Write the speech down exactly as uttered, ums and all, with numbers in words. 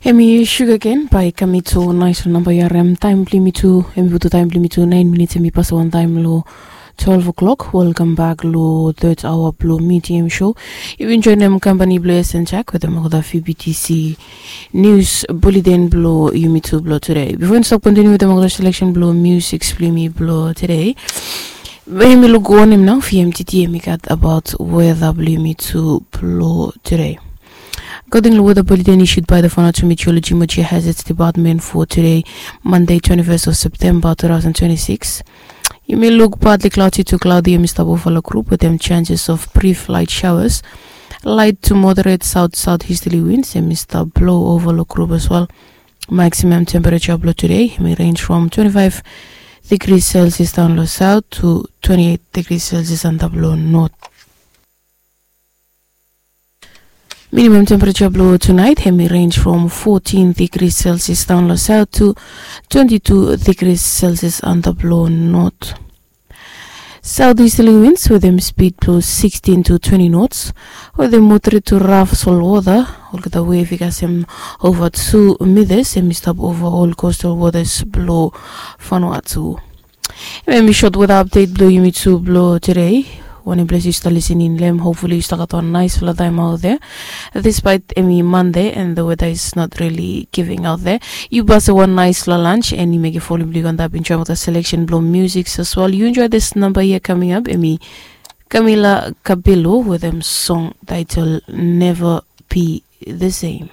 Hemi sugaken bai kam i tu nais long namba ya rem taim bilong yumi tu. Hemi butu taim bilong yumi tu nain minits hemi pas wantaim long twelve o'clock. Welkam bak long third hour bilong medium show. Yumi joinim kampani bilong esen jak wetem olgeta fbtc news bulletin bilong yumi tu bilong tude. Bifo yumi stap kontiniu wetem olgeta selection bilong music bilong yumi bilong tude, bai yumi luk wanem nau fmtt hemi gat abaut weda bilong yumi tu bilong tude. According to weather bulletin issued by the Vanuatu Meteorology Meteor Hazards Department for today, Monday, twenty-first of September two thousand twenty-six. Yumi look partly cloudy to cloudy, yumi stap over long group with them chances of brief light showers. Light to moderate south southeasterly winds, yumi stap blow over long group as well. Maximum temperature below today, yumi range from twenty-five degrees Celsius down low south to twenty-eight degrees Celsius under below north. Minimum temperature bilong tonight hemi range from fourteen degrees Celsius down low south to twenty-two degrees Celsius under below north. Southeasterly winds with them speed plus sixteen to twenty knots, with them moderate to rough salt water. Olgeta wave i kasem over two meters, hemi stap over all coastal waters below Vanuatu. Em i short weather update bilong yumi tu bilong today. Wanem ples yu stap listening long em, hopefully yu stap gat wan nice fala taim out there. Despite em i Monday and the weather is not really giving out there, yu basa wan nice fala lunch and yu mekim follow bilong yu antap enjoy with the selection bilong music as well. You enjoy this number here coming up, em i Camila Cabello with them song title Never Be the Same.